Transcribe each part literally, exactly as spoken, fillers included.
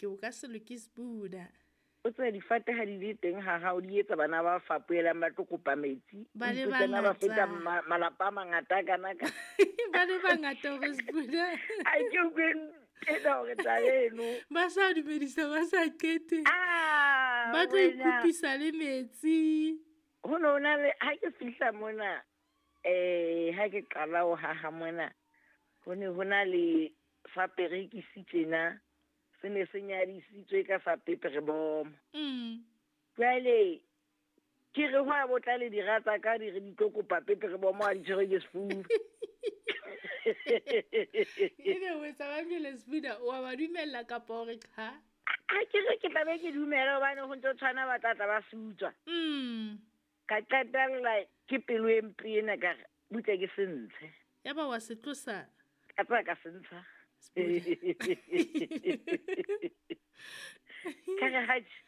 Ke o ka se loke Sbuda. O tsebe difate ha di le teng ha hao di etsa bana ba fapohelang ba tlo kopa metsi. Ba le Ipotsa na ba feta bangata. ma- malapa a mangata a kana ka. Ba le bangata hore Sbuda. Ha ke utlwe ntena hore taba eno. Ba sa dumedisa ba sa qete. Ah, Ba tlo wena. ikopisa le metsi. Ho no na le ha ke fihla mona eh ha ke qala ho haha mona ho ne ho na le sa perekisi tjena se ne se nyadisitswe ka sa peperebomo. Mm. Jwale ke re ho a bo tla le dira tsa ka di re di tlo kopa peperebomo ha di tshwerwe ke sefuba. Ebe o etsa ba jwale Sbuda, o a ba dumella kapa hore cha? Ha ke re ke tla be ke dumela hobane ho ntso tshwana ba tla tla ba se utswa. Mm. Ka qetella ke pelo e mpe ena ka re butle ke se ntshe. Ya ba wa se tlosa. Ka tseba ka se ntsha. Sbuda. Ka re hatjhe,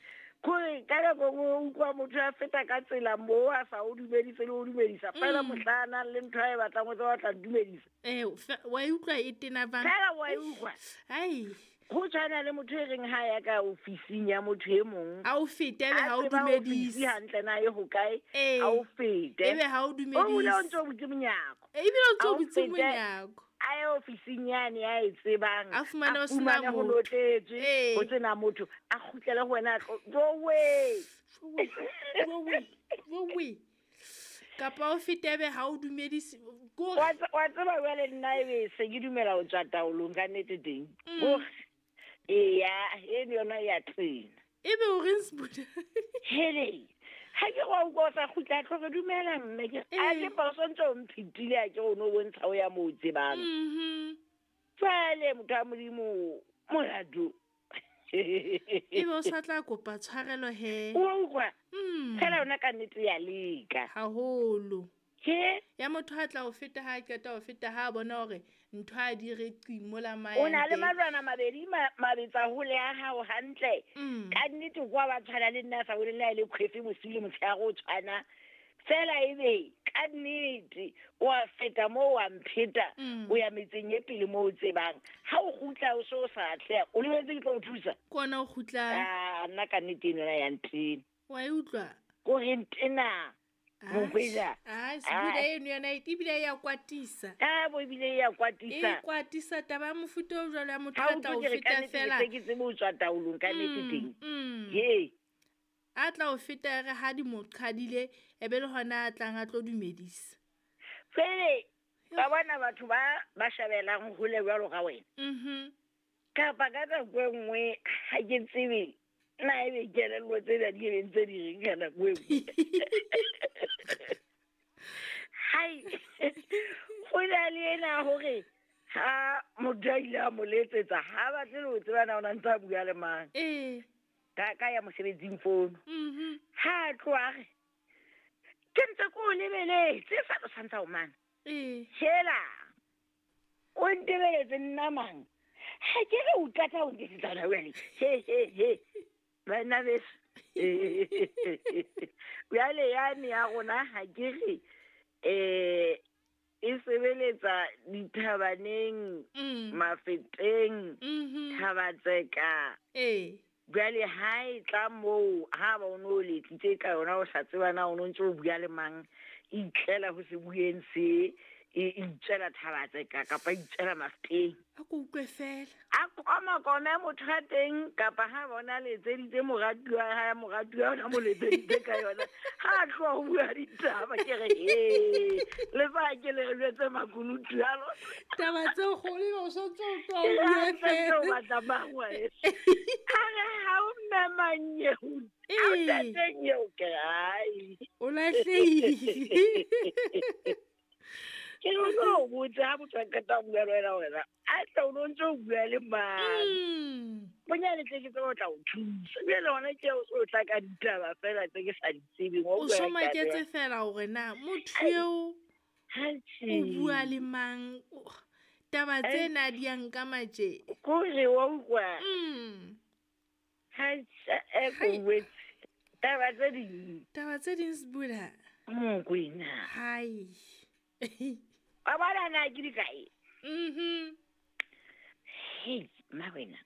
kore ka nako e nngwe o utlwa motho a feta ka tsela moo a sa o dumedise le ho dumedisa. Feela Mm. mohla a nang le ntho a e batlang o tseba o tla dumedisa. Eh, fe-, wa e utlwa e tena bang? Feela wa e utlwa. Ai. Ho tshwana le motho e reng ha ya ka ofising ya motho e mong. Ha o fete ebe A ha o tseba dumedise. ofisi hantle na e hokae, Eh. ha o fete. Ebe ha o O bula o dumedise. ntso butse monyako. Eh, ebile o ntso Ha o butse fete, monyako. a ye ofising yane ya e tsebang, A fumane a ho sena fumane ho motho. notletswe, Eh. ho sena motho, a kgutlele ho wena a tlo, jowe. Jowe, jowe, jowe. Kapa o fete ebe ha o dumedise, ko Wa tse-, wa tseba jwale nna ebe se ke dumela ho tswa taolong ka nnete teng. Mm. Hore, eya, eno yona e a tena. Ebe o reng Sbuda? Hele, ha ke re wa utlwa o sa kgutla, a tlo re dumela mme ke re, a Eh. ke phoso ntse o mphetile, a ke re o no bontsha o ya moo o tsebang. Mhm. Jwale motho wa Modimo, molato. Ebe o sa tla kopa tshwarelo he. O a utlwa? Mm. Fela yona ka nnete ya leka. Haholo. Ke? Ya motho a tla o feta ha a qeta ho feta ha a bona hore ntho a di re qi mola O na le mayang teng. malwana mabedi ma-, mabetsa hole ya hao hantle. Mm. Ka nnete kwa ba tshwana le nna sa bone le ha e le kgwefe bosiu le motshehare o tshwana. Fela ebe ka nnete o a feta moo wa mpheta, Mm. o ya metseng e pele moo o tsebang. Ha o kgutla o so o sa atleha, o lebetse ke tlo o thusa. Ke ona o kgutlang. Ah, nna ka nnete eno ya ntena. Wa e utlwa? Ko re ntena. Ah, Mokwena. ah, Sbuda Ah. eno yona e ebile e ya kwatisa. Ah, bo ebile e ya kwatisa. E kwatisa taba ya mofuta o jwalo ya motho Ha a o tla o utlwe ke re ka feta nnete ke fela. se ke tsebe ho tswa taolong ka nnete Mm, teng. mm. He. A tla o feta re ha di mo qhadile, e be le hona a tlang a tlo dumedisa. Fele, ba bona batho ba, ba shabelang hole jwalo ka wena. Mhm. Kapa ka nako e nngwe ha ke tsebe na ebe kelello tsena di ebe ntse di reng ka nako e nngwe. Hai, ho na le ena hore ha motho a ile a mo letsetsa, ha batle le ho tseba na o na ntse a bua le mang. Eh. Ka, ka ya mosebetsing fono. Mhm. Ha a tloha a re, ke ntse ke o lebeletse, sa tlo santsa o mana. Eh. Hela, o ntebeletse nna mang? Ha ke re o qeta ho ntetsetsa hona jwale. He, he, he. Bana beso. Jwale yane ya rona ha ke re, eh, e sebeletsa dithabaneng, Mm. mafeteng, Mhm. Thabatseka. Eh. Jwale ha e tla moo, ha ba o no letsitse ka yona o sa tseba na o no ntse o bua le mang, e itlela ho se bueng se, e itswela Thabatseka kapa e itswela Mafeteng. A ko utlwe fela. A komakome motho a teng, kapa ha bona letseditse moratuwa ha moratuwa ona mo letseditse ka yona. Ha a tloha ho bua ditaba, ke re, he, le fa ke le re jwetse makunutu a lona. Taba tse kgolo ebe o sa ntse o tloha ho Ke bua ha ntse fela. o batla mang wa heso? A re ha o mme manyeo, ha o Ee. ntate nyeo, ke re, ai. O lahlehile. Ke re o tlo botsa ha motho a qeta ho bua le wena hore a tla o no ntse o bua le mang. Mm. Bonyane tle ke tsebe ho tla o thusa. Jwale hona ke o so tla ka ditaba fela tse ke sa di tsebeng. Wa O utlwa so ya taba maketse ya- fela hore na motho Ai. eo Atjhe. o bua le mang? O, taba Ai. tsena di ya nka matje. Kore wa utlwa. Mm. Atjhe, e ko Hai. wetse. Taba tse ding. Taba tse ding Sbuda. Mokwena. Hai. Wa bona na ke di kae? Mhm. Hei, mma wena.